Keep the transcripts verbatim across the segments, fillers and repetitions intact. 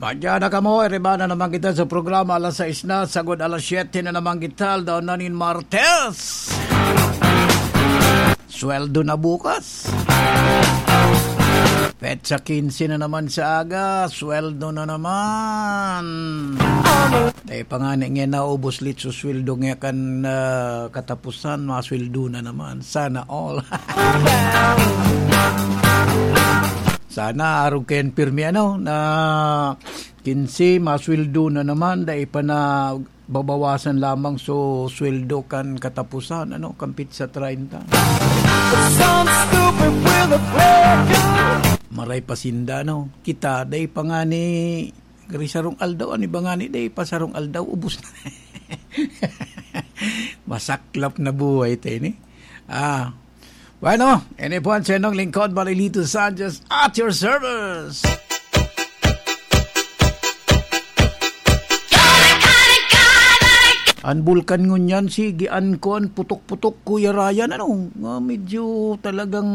Andiyan na kamo, iriba na naman kita sa programa, alas sais na, sagod alas siyete na naman kita, aldaw na nin Martes. Sweldo na bukas. Petsa quince na naman sa aga, sweldo na naman. Tayo pa nga ni nga naubos lit so sweldo nga kan, ah, katapusan, masweldo na naman. Sana all. Sana arog kayan pirmi, ano, na quince, masweldo na naman, dai pa na babawasan lamang so sweldo kan katapusan, ano, kan petsa treinta. Some stupid will have. Maray pa sinda, no? Kita, dai pa nga ni gari sarong aldaw, ano ba nga ni, dai pa sarong aldaw, ubos na. Masaklap na buhay tayo ni. Ah, Bueno, ini po ang siyentong lingkod, Marilito Sanchez, at your service. An bulkan ngunyan, sige, an kuwan, putok-putok, Kuya Ryan, ano? Nga medyo talagang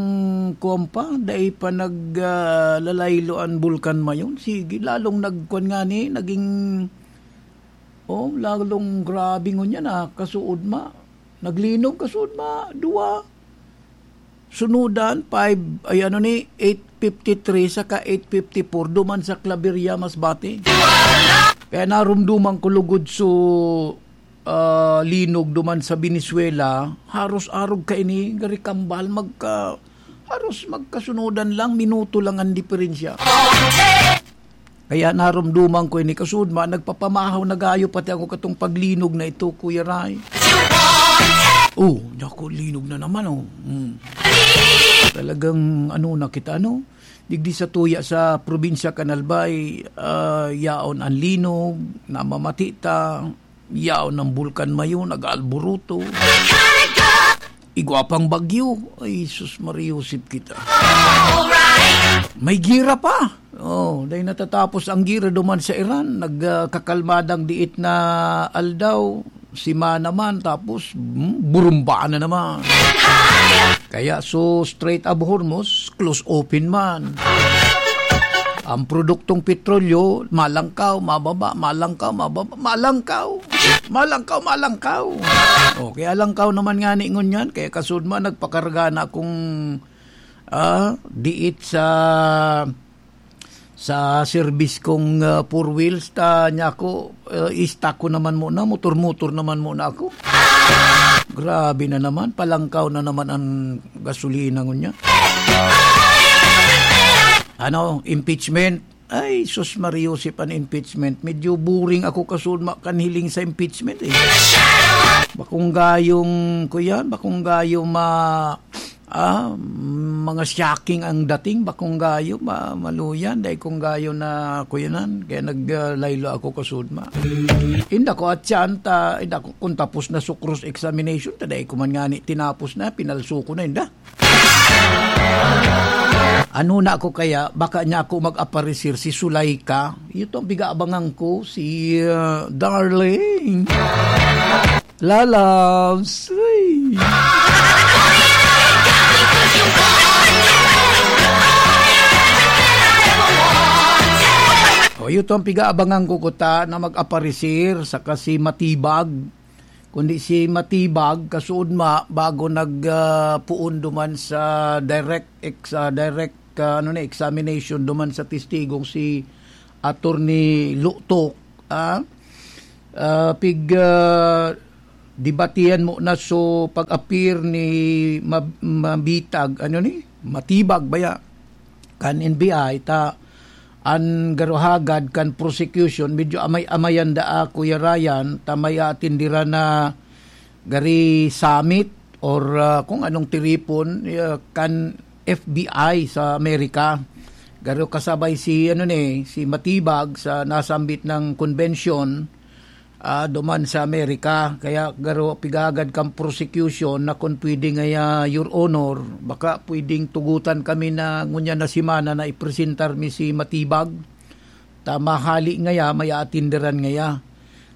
kuwan pa, dai pa nag, ah, lalaylo an bulkan mayon. Sige, lalong nagkuwan nga ni, naging, oh, lalong grabe ngunyan, ah, kasuod ma. Naglinog kasuod ma, duwa. Sunudan, five, ay ano ni, eight fifty-three saka eight fifty-four, duman sa Claveria, Masbate. Kaya narumduman ko lugod so, ah, linog duman sa Venezuela, haros arog kaini, gari kambal, magka, haros magkasunudan lang, minuto lang ang diferensya. Kaya narumduman ko ini, kasuod ma, nagpapamahaw na gayo pati ako katong paglinog na ito, Kuya Ray. Oh, naku, linog na naman, oh. Hmm. Talagang, ano na kita, ano? Digdi sa tuya sa probinsya kan Albay, ah, yaon ang linog, namamati ta, yaon ang bulkan mayo, nag-aalburuto. Igwa pang bagyo. Ay, sus, mariusip kita. May gira pa. Oh, dahil natatapos ang gira duman sa Iran, nagkakalmadang diit na aldaw, simana man, tapos, hmm, burumba na naman. Kaya so Strait of Hormuz, close open man. Ang produktong petrolyo, malangkaw, mababa, malangkaw, mababa, malangkaw. Malangkaw, malangkaw. O, kaya langkaw naman nga ni ngunyan, kaya kasud man, nagpakarga na akong, ah, diit sa, sa service kong, ah, four wheels, ta niya ako, ah, i-stock ko naman muna, motor-motor naman muna ako. Grabe na naman, palangkaw na naman ang gasolina ngunyan. Ano, impeachment? Ay, sus, Mariusip, an impeachment. Medyo boring ako kasud ma-, kan hiling sa impeachment, eh. Bakong gayong, kuyan, bakong gayong ma-, ah, mga shocking ang dating, bakong gayo, ma-, maluyan, dahil kung gayo na kuyanan, kaya nag, ah, laylo ako kasud ma. Inda ko at siyan, ta, inda ko, kung tapos na so cross-examination, ta dahil ko man nga ni tinapos na, pinalso ko na, inda. Ano na ako kaya? Baka niya ako mag-aparisir si Sulaika. Ito ang pigaabangan ko, si, uh, Darling. Lalabs. Uy. O, ito ang pigaabangan ko, kuta, na mag-aparisir, saka si Matibag. Kundi si Matibag, kasuod ma, bago nag, ah, puon duman sa direct ex-, ah, direct, ah, ano na, examination duman sa testigong si Attorney Lutok, ah, ah, pig, ah, debatihan mo na so pag-appear ni Mab-, Mabitag, ano ni? Matibag baya? Kan N B I, ta an garo hagad kan prosecution, medyo amay-amayan daa, Kuya Ryan, ta may aatindiran na gari summit or, ah, kung anong tiripon, ah, kan F B I sa Amerika. Garo kasabay si, ano ni, si Matibag sa nasambit ng convention, ah, duman sa Amerika. Kaya garo pigagad kan prosecution na kung pwede ngaya, Your Honor, baka pwedeng tugutan kami na ngunyan na semana na ipresentar mi si Matibag. Ta mahali ngaya, may aatinderan ngaya.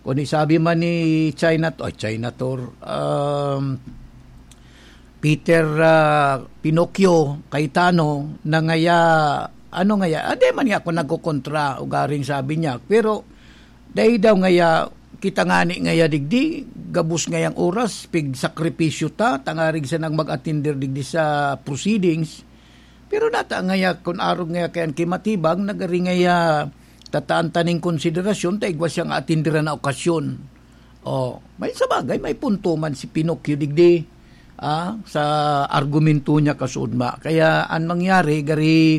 Kung isabi man ni China, ay, China Tour, um, Peter, ah, Pinocchio Cayetano na ngaya Ano ngaya? Ade man niya ako nagkokontra, ugaring sabi niya. Pero, dai daw ngaya, kita ngani ngaya digdi, gabos ngayang oras, pigsakripisyo ta, tangarig sanang mag-attender digdi sa proceedings. Pero nata ngaya, kun arog ngaya kay an kimatibag, nagari ngaya tataan ta ning konsiderasyon, ta igwa siyang aatenderan na okasyon. Oh, may sa bagay, may punto man si Pinocchio digdi, ah, sa argumento niya kasudma. Kaya an mangyari, gari,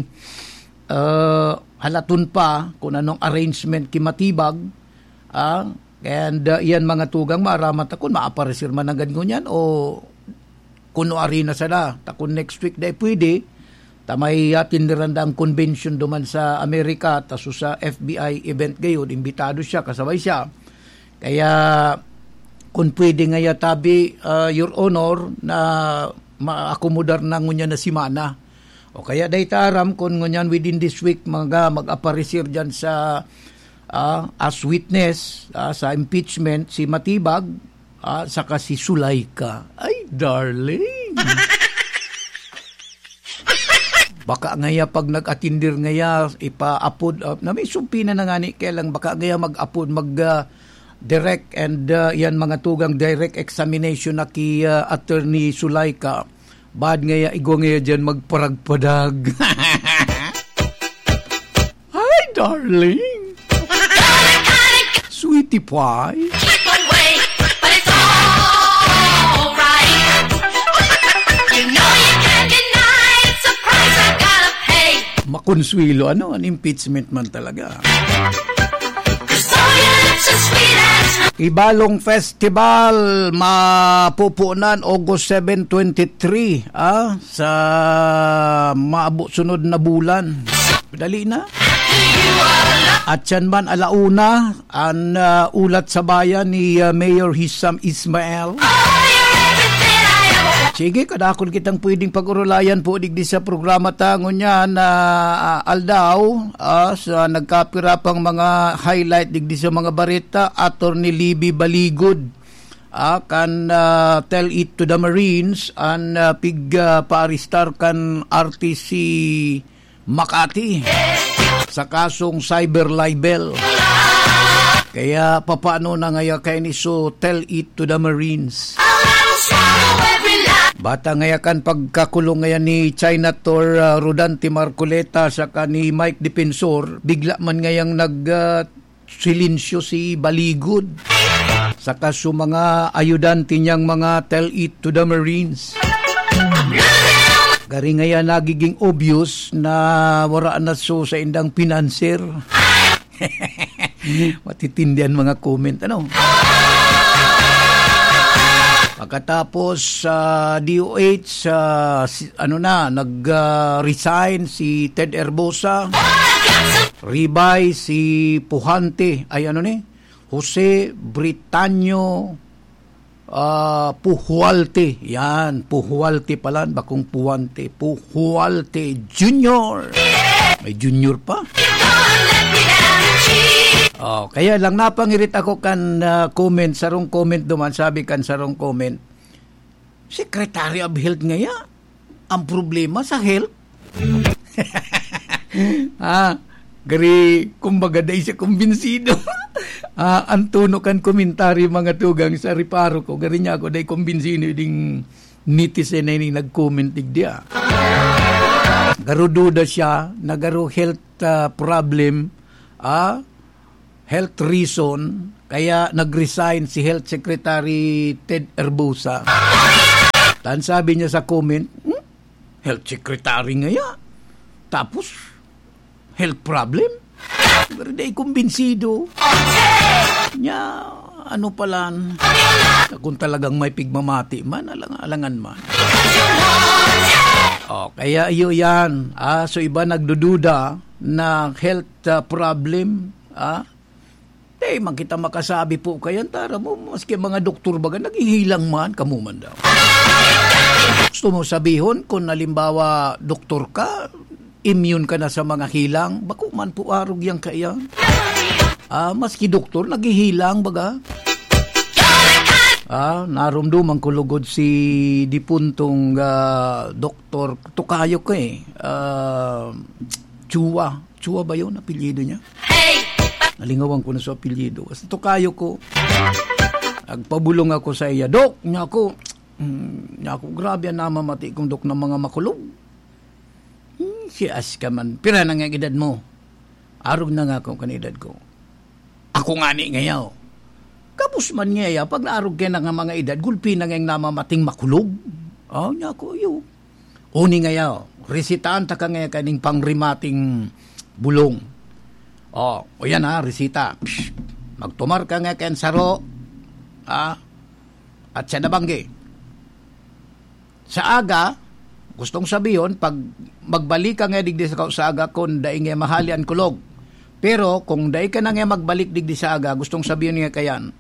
ah, halaton pa kung anong arrangement ki Matibag, ah, and, ah, iyan mga tugang, maaraman ta kung maaparecer man nanggad ngunyan o kuno ari na sana. Ta kun next week dai pwede, ta may atinderan da ang convention duman sa Amerika, ta so sa F B I event gayod, imbitado siya, kasabay siya. Kaya, kun pwede ngaya tabi, ah, Your Honor, na maakomodar na ngunyan na semana. O kaya dai ta aram kun ngunyan within this week mga mag-aparecer dyan sa, ah, as witness, ah, sa impeachment si Matibag, ah, saka si Sulaika. Ay, darling. Baka ngaya pag nag-atindir ngaya, ipa-apod, ah, na may sumpina na ngani, kaya lang baka ngaya mag-apod, mag, ah, direct and, ah, yan mga tugang direct examination na ki, ah, Attorney Sulaika. Bad ngaya, igwa ngaya dyan magparagpadag. Hi, darling. Sweetie pie. Makonsuelo, ano? An impeachment man talaga. Ibalong Festival, mapupunan August seven, twenty-three, ah, sa maabot sunod na bulan. Dali na. At siyan man, ala una, an, ah, ulat sa bayan ni, ah, Mayor Hisham Ismail. Sige, kadakul kitang pwedeng pag-urulayan po digdi sa programa ta ngunyan na, ah, aldaw, ah, sa nagkapira pang mga highlight digdi sa mga bareta, Attorney Libby Baligod, ah, kan, ah, tell it to the Marines, an, ah, pig, ah, paarestar kan artist si Makati sa kasong cyber libel. Kaya papaano na ngaya kaini? So, tell it to the Marines. Bata ngaya kan pagkakulong ngaya ni China Tor, ah, Rodante Marcoleta saka ni Mike Defensor, bigla man ngayang nag, ah, silensyo si Baligod saka su mga ayudante niyang mga tell it to the Marines. Gari ngaya nagiging obvious na wara na su sa indang pinanser. Matitindi an mga comment, ano? Pagkatapos sa D O H, ah, si, ano na, nag, ah, resign si Ted Herbosa. Ribay si Puhante, ay ano ni? Jose Britanyo, ah, Puhualte. Yan, Puhualte pala, bakong Puhante. Puhualte Junior. May junior pa. Oh, kaya lang napangirit ako kan, ah, comment, sarong comment duman, sabi kan sarong comment, Secretary of Health ngaya? Ang problema sa health? Ah, gari, kumbaga, dai siya kumbinsido. Ah, ang tono kan komentaryo, mga tugang, sa reparo ko, gari niya ako, dai kumbinsido ding netizen na ini nag-comment digdi, ah. Garo duda siya na garo health, ah, problem, ah, health reason, kaya nag-resign si Health Secretary Ted Herbosa. Tan sabi niya sa comment, "Hmm? Health Secretary ngaya? Tapos, health problem?" Pero di kumbinsido. Nya, ano palan? Kung talagang may pigmamati man, alang-, alangan man. Oh, kaya iyo yan. Ah, so iba nagdududa na health, ah, problem. Ah, di man kita makasabi po kayan, tara mo, maski mga doktor baga, naghihilang man, kamo man daw. Gusto mo sabihon, kung halimbawa, doktor ka, immune ka na sa mga hilang, bako man po arog yan kaya. Ah, maski doktor, naghihilang baga. Ah, narumduman ko lugod si dipuntong, ah, doktor, tukayo ko eh. Ah, Chua. Chua ba yun, apelyido niya? Nalingawan ko na sa apelyido. Basta tokayo ko, nagpabulong ako sa iya. "Dok," niya ako, "mm, niya ako, grabe ang namamati kong dok ng mga makulog." Hmm, si Aska man, "Pira na nga edad mo?" "Arog na nga ako kan edad ko." "Ako nga ni ngayaw." Kapos man ngaya, pag naarog kaya na nga mga edad, gulpi na ngayang namamating makulog. Oh, niya ako, iyo. Uni ngaya, resitahan ta ka ngaya kaning pangrimating bulong. Oh, o yan ha, resita. Psh, magtumar ka nga kayan saro. Ha? At siya nabanggi. Sa aga, gustong sabihon, pag magbalik ka nga digdi sa, sa aga, kung dai nga mahali an kulog. Pero kung dai ka na nga magbalik digdi sa aga, gustong sabihon nga kayan,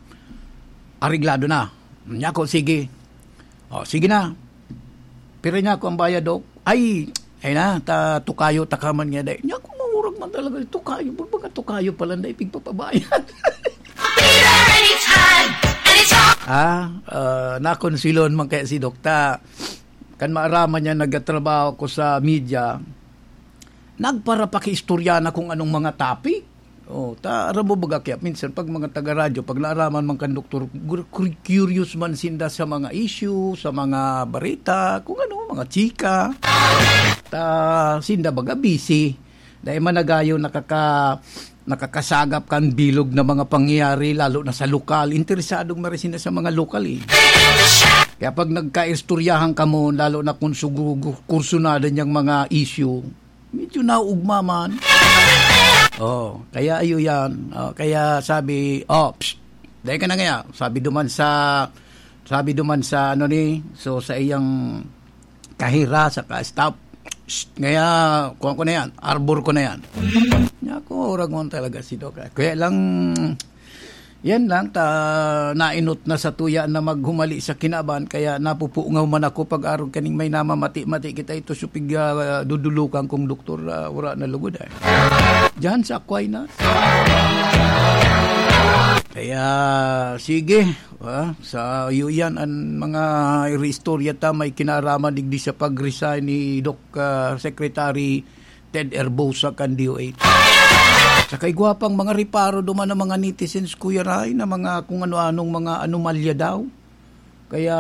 areglado na. Niya ako, sige. O, sige na. Pira niya ako ang bayad, Dok? Ay, ay na, ta, tukayo, ta ka man nga, dai. Niya ako, mangurag man talaga, tukayo. Baga tukayo pala, dai, pigpapabayad. Ah, ah, nakonsilon man kaya si Dokta. Kan maaraman niya, nagtatrabaho ko sa media, nagparapakiistorya na kung anong mga topic. Oh, ta, aram mo baga kaya, minsan pag mga taga-radyo, pag naaraman man kan doktor, gur-, cur-, curious man sinda sa mga issue, sa mga barita, kung ano, mga chika. Ta, sinda baga busy. Dahil managayon nakaka-, nakakasagap kan bilog na mga pangyayari, lalo na sa lokal. Interesadong marisin na sa mga lokal eh. Kaya pag nagkaistoryahan kamo, lalo na kung sugugu-, kursunada niyang mga issue, medyo nauugma man. Oh, kaya ayo yan. Oh, kaya sabi, "Oh, psst, dahil ka na ngaya." Sabi duman sa, sabi duman sa, ano ni, so sa iyang kahira, sa ka-staff, "Psst, ngaya, kuha ko na yan, arbor ko na yan." Niya ako, orag mo talaga si Doc. Kaya lang, yan lang, ta, nainot na sa tuya na maghumali sa kinaban, kaya napupungaw man ako pag-arog kaning may namamati-mati kita ito, supig, ah, dudulukan kong doktor, ah, wala na lugod eh. Diyan sa Aquinas. Kaya, sige, ah, sa iyo yan, ang mga istorya ta may kinaraman digdi sa pag-resign ni Doc, ah, Secretary Ted Herbosa kan D O H. Sa kaigwa pang mga reparo duman ng mga netizens, Kuya Ray, na mga kung ano-anong mga anomalya daw. Kaya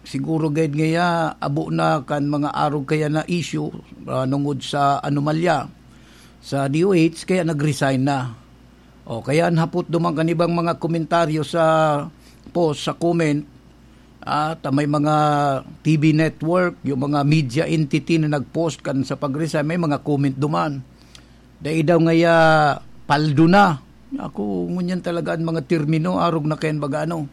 siguro gayud ngaya, abo na kan mga arog kaya na issue, ah, nungod sa anomalya sa D O H, kaya nag-resign na. O, kaya an hapot duman kan ibang mga komentaryo sa post, sa comment, ah, ta may mga T V network, yung mga media entity na nag-post kan sa pag-resign, may mga comment duman. Dai daw ngaya paldo na. Ako, ngunyan talaga ang mga termino, arog na kayan baga ano.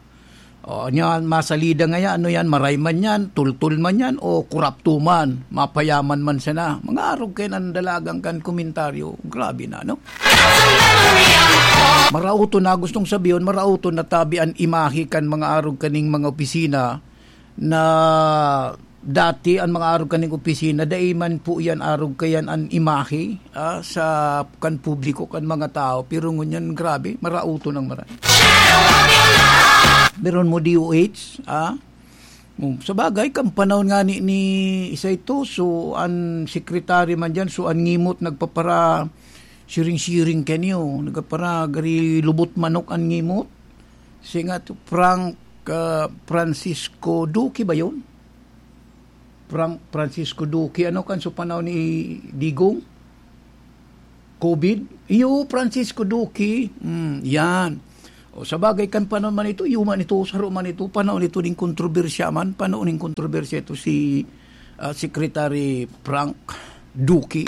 O, niya, masalida ngaya, ano yan, maray man yan, tultul man yan, o kurapto man, mapayaman man sana. Mga arog kayan ang dalagang kan komentaryo. Grabe na, no? Marauto na, gustong sabihin, marauto na tabi an imahe kan mga arog kaning mga opisina na dati an mga arog kaning opisina, dai man po yan arog kayan an imahe, ah, sa kan publiko, kan mga tao. Pero ngunyan, grabe, marauto nang maray. Meron mo D O H, ah? Hmm, sa bagay, kan panahon nga ni, ni isa ito, so, an secretary man dyan, so, an ngimot nagpapara siring-siring kaniyo, nagpapara gari lubot manok an ngimot. Si nga to, Frank, ah, Francisco Duque ba yun? Frank, Francisco Duque, ano kan sa panahon ni Digong? COVID? Iyo, Francisco Duque. Hmm, yan. O, sa bagay, kan panahon man ito, iyo man ito, saro man ito, panahon ito ning kontrobersya man, panahon ning kontrobersya ito si, ah, Secretary Frank Duque.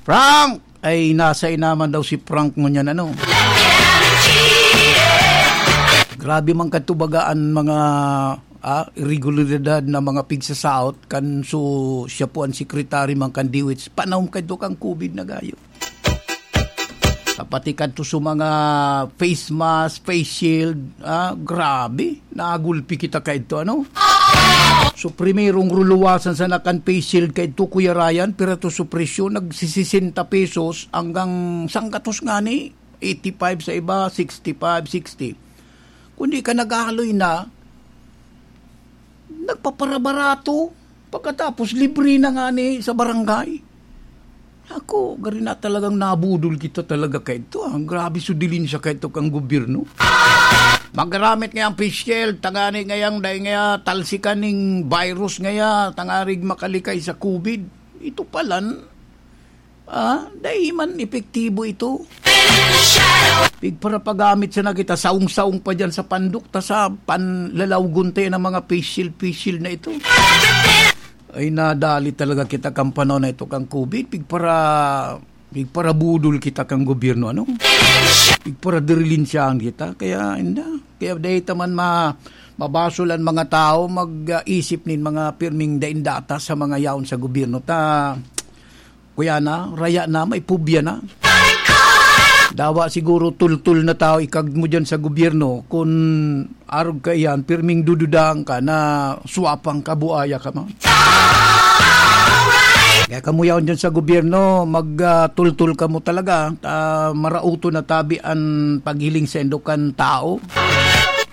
Frank! Ay, nasa inaman daw si Frank ngunyan, ano? Grabe man katubagaan mga, ah, irregularidad na mga pigsasaot kan su-, siya po ang secretary man kan D O H. Panahon kadto kan COVID na gayo. Kapati kadto sa mga face mask, face shield, ah, grabe, nagulpi kita kaidto, ano? So, primerong ruluwasan sana kan face shield kaidto, Kuya Ryan, pero to sa presyo, nagsisisenta pesos hanggang sanggatos ngani, eighty-five sa iba, sixty-five, sixty. Kung di ka naghahaloy na, nagpaparabarato. Pagkatapos, libre na ngani sa barangay. Ako, gari na talagang nabudol kita talaga kaito, ah. Grabe su dilin siya kaito kang gobyerno. Magaramit ngayang face shield, tangani ngayang dai ngaya talsikan ning virus ngaya, tangarig makalikay sa covid. Ito palan, ah, dai man epektibo ito. Pigparapagamit sana kita, saong-saong pa dyan sa pandok, ta sa panlalawgon tayo ng mga face shield, face shield na ito. Ay, nadali talaga kita kan panahon na ito, kan covid. Pigpara-, pigparabudol kita kan gobyerno, ano? Pigparadirilinsiyahan kita. Kaya, inda. Kaya dahil taman ma-, mabasol ang mga tao, mag-isip nin mga pirming daindata sa mga yaon sa gobyerno. Ta, kuya na, raya na, may pubya na. Dawa siguro tultul na tao ikag mo dyan sa gobyerno. Kun arog ka iyan, pirming dududahan ka na swapang kabuaya ka, ma. Kaya kamo yaon dyan sa gobyerno, mag, ah, tultul kamo talaga. Ah, marauto na tabi an paghiling sa indokan tao.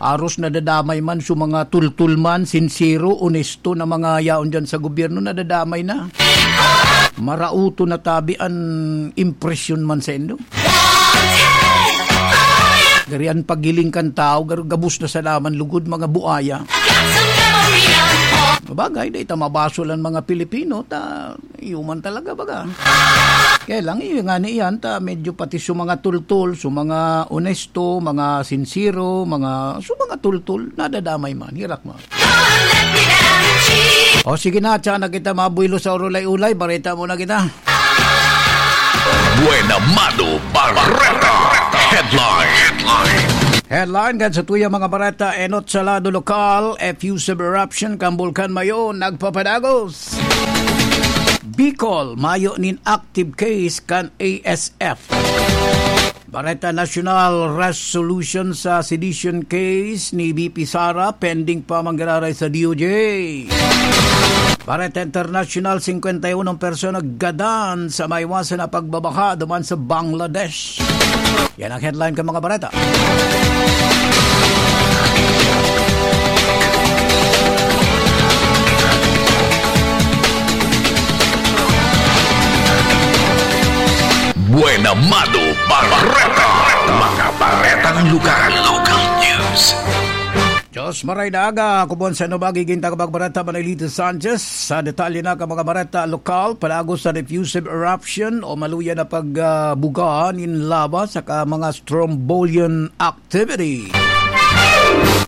Aros nadadamay man, su mga tultul man, sinsero, onesto na mga yaon dyan sa gobyerno, nadadamay na. Marauto na tabi an impresyon man sa indo. Gari an paghiling kan tao, gar-, gabos na sa laman lugod, mga buaya. Bagay, dai ta mabasol an mga Pilipino, ta, iyo man talaga, baga. Kaya lang, iyo nga ni iyan, ta, medyo pati su mga tultul, su mga onesto, mga sinsero, mga, su mga tultul, nadadamay man, hirak man. O sige na, tsaka na kita mabuelo sa urulay-ulay, bareta muna kita. Buena Mano Bareta. Headline. Headline kan sa tuya mga bareta, enot sa lado lokal, effusive eruption kan Bulkan Mayon nagpapadagos. Bicol, mayo nin active case kan A S F. Bareta nasyonal, resolution sa sedition case ni V P Sara pending pa manggiraray sa D O J. Bareta internasyonal, singkwenta y unong persona gadan sa maiwasan na pagbabaha duman sa Bangladesh. Yan ang headline kan mga bareta. Buena Mano Bareta. Mga baretang lugar. Local news. Diyos maray na aga, ako po sa inyo magiging tagapagbareta, Manilito Sanchez. Sa detalye na ka mga bareta lokal, palagos sa diffusive eruption o maluya na pagbuga nin lava saka mga strombolian activity.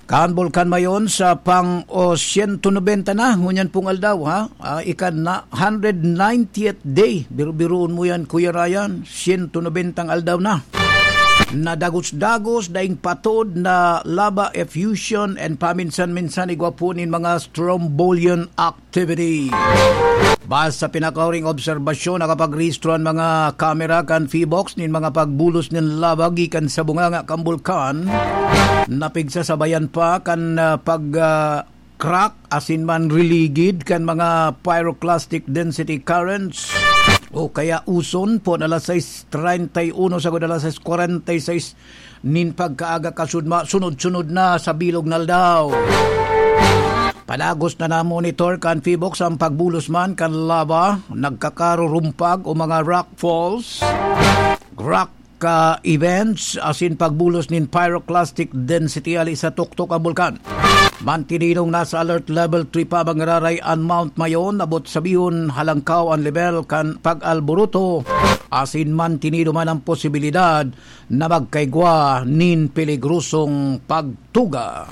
Kan Bulkan Mayon sa pang o siyento nobenta na, ngunyan pong aldaw, ha? Ah, ikan na hundred ninetieth day. Biru-biruon mo yan, Kuya Ryan. Siyento nobentang aldaw na. Nadagos-dagos, daing patod na lava effusion and paminsan-minsan igwa po nin mga strombolian activity. Base sa pinakahuring obserbasyon, nakapagrehistro an mga kamera kan PHIVOLCS nin mga pagbulos nin lava gikan sa bunganga kan bulkan, na pigsasabayan pa kan, ah, pag, ah, crack asin man riligid kan mga pyroclastic density currents o kaya uson, pon alas sais treinta y uno sagkod alas sais kwarenta y sais nin pagkaaga kasudma, sunod-sunod na sa bilog na aldaw. Padagos na namonitor kan PHIVOLCS ang pagbulos man kan lava, nagkakarurumpag o mga rock falls, rock ka events asin pagbulos nin pyroclastic density hali sa tuktok ang bulkan. Mantinidong nasa alert level three pa manggiraray an Mount Mayon, abot sabihon halangkaw an lebel kan pag-alboroto, asin mantinido man ang posibilidad na magkaigwa nin peligrosong pagtuga.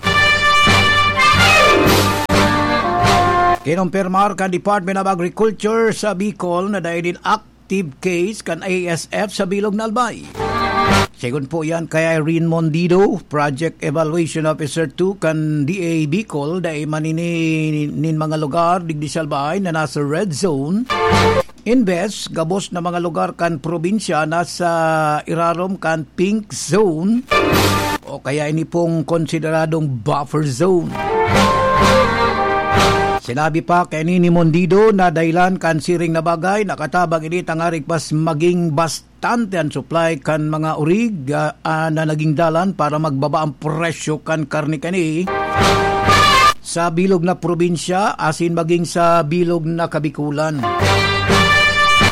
Kinumpirmar kan Department of Agriculture sa Bicol na dai nin active case kan A S F sa bilog na Albay. Segun po yan kay Irene Mondido, Project Evaluation Officer two kan D A Bicol, dai man ini nin mga lugar digdi sa Albay na nasa red zone. Imbes, gabos na mga lugar kan probinsya nasa irarom kan pink zone o kaya ini pong konsideradong buffer zone. Sinabi pa kaini ni Mondido na dahilan kan siring na bagay, nakatabang ini tangarig mas maging bastante an supply kan mga orig, ah, ah, na naging dalan para magbaba ang presyo kan karne kani sa bilog na probinsya asin maging sa bilog na Kabikulan.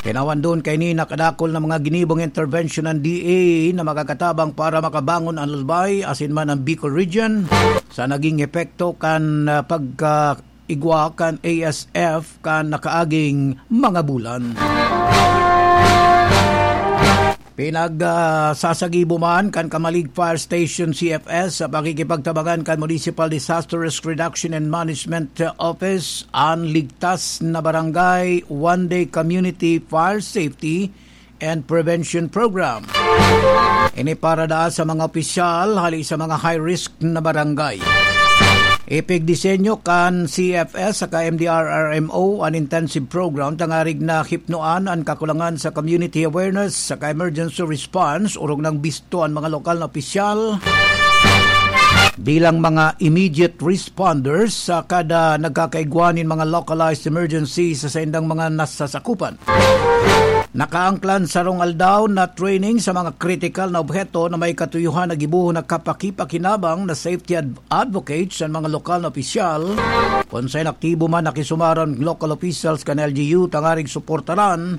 Kinawandon kaini na kadakol na mga ginibong intervention ng D A na makakatabang para makabangon ang Albay asin man ang Bicol Region sa naging epekto kan, ah, pagka igwa kan A S F kan nakaaging mga bulan. Pinag, ah, sasagibo man kan Camalig Fire Station C F S sa pakikipagtabangan kan Municipal Disaster Risk Reduction and Management Office an Ligtas na Barangay One Day Community Fire Safety and Prevention Program. Ini para daa sa mga opisyal hali sa mga high risk na barangay. Ipigdisenyo kan C F S saka M D R R M O an intensive program tangarig na hipnoan an kakulangan sa community awareness saka emergency response, orog nang bisto an mga lokal na opisyal bilang mga immediate responders sa kada nagkakaigwa nin mga localized emergency sa saindang mga nasasakupan. Nakaangklan sarong aldaw na training sa mga kritikal na obheto na may katuyohan na gibohon na kapakipakinabang na safety ad-, advocates an mga lokal na opisyal. Kun saen aktibo man, nakisumar an local officials kan L G U tangaring suportaran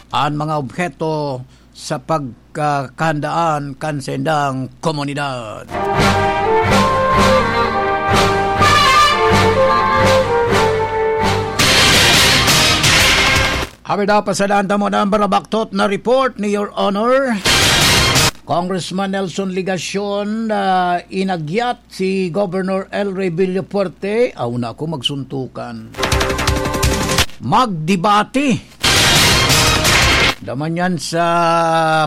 an mga obheto sa pagkakahandaan kan saindang komunidad. Habi daw, pasadaan ta mo na ang barabaktot na report ni Your Honor. Congressman Nelson Legacion, ah, inagyat si Governor El Rey Villafuerte. Aw, na ako magsuntukan. Magdebate. Daman yan sa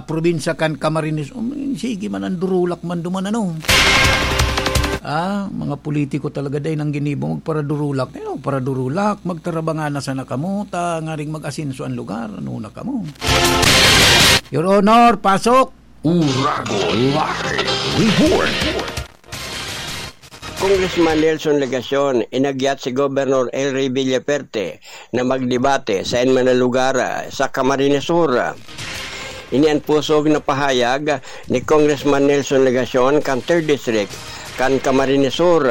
probinsya kan Camarines. Um, sige man, ang durulak man duman, ano? Ah, mga politiko talaga, dai nang ginibo magparadurulak. Ano, paradurulak, magtarabangana sana kamo, ta ngaring mag-asenso ang lugar. Ano na kamo? Your Honor, pasok! Uragon Live Report. Congressman Nelson Legacion, inagyat si Governor El Rey Villaperte na magdebate sa enman na lugar, ah, sa Camarines Sur. Ini an pusog na pahayag ni Congressman Nelson Legacion kan Third District kan Camarines Sur,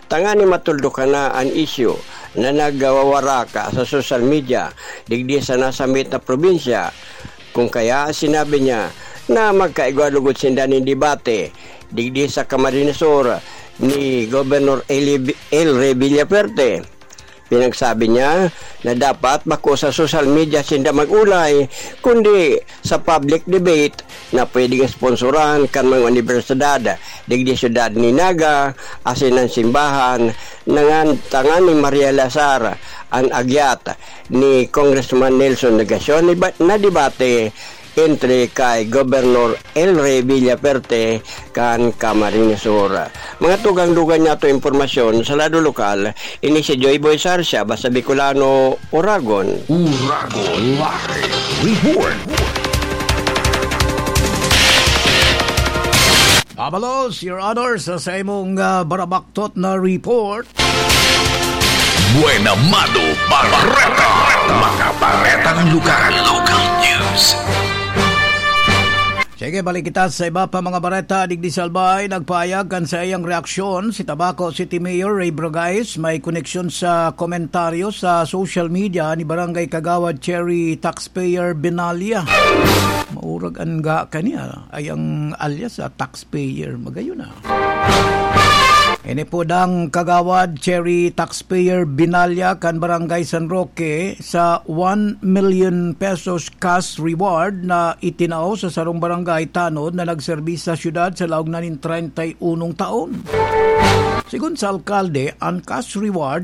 tanganing matuldukan na an isyu na nagwawarak sa social media digdi sa nasambit na probinsya. Kung kaya, sinabi niya na magkaigwa lugod sinda nin debate digdi sa Camarines Sur ni Governor Eli-, El Rey Villafuerte. Pinagsabi niya na dapat bako sa social media sinda mag-olay, kundi sa public debate na pwedeng sponsoran kan mga unibersidad digdi syudad ni Naga asin an simbahan, nangan tanganing marealisar an agyat ni Congressman Nelson Legacion na ba-, na debate entre kay Gobernador El Rey Villaperte kan Camarines Sur. Mga tugang-dugang niyato impormasyon sa lado lokal, ini si Joy Boy Sarsia, basta Bicolano, Uragon. Uragon Live Report. Abalos, Your Honor, sa, sa imong, ah, barabaktot na report. Buena Mano Bareta. Mga baretang lugar. Local news. Sige, balik kita sa iba pa mga bareta. Digdi sa Albay, nagpahayag kan saiyang reaksyon si Tabaco City Mayor Ray Bragais. May koneksyon sa komentaryo sa social media ni Barangay Kagawad Cherry Taxpayer Benalia. Maurag an ga kaniya ay ang alias sa taxpayer. Magayon na. Ini po dang Kagawad Cherry Taxpayer Binalya kan Barangay San Roque sa one million pesos cash reward na itinao sa sarong barangay tanod na nagserbis sa syudad sa laog na nin treinta y unong taon. Sigon sa alkalde, an cash reward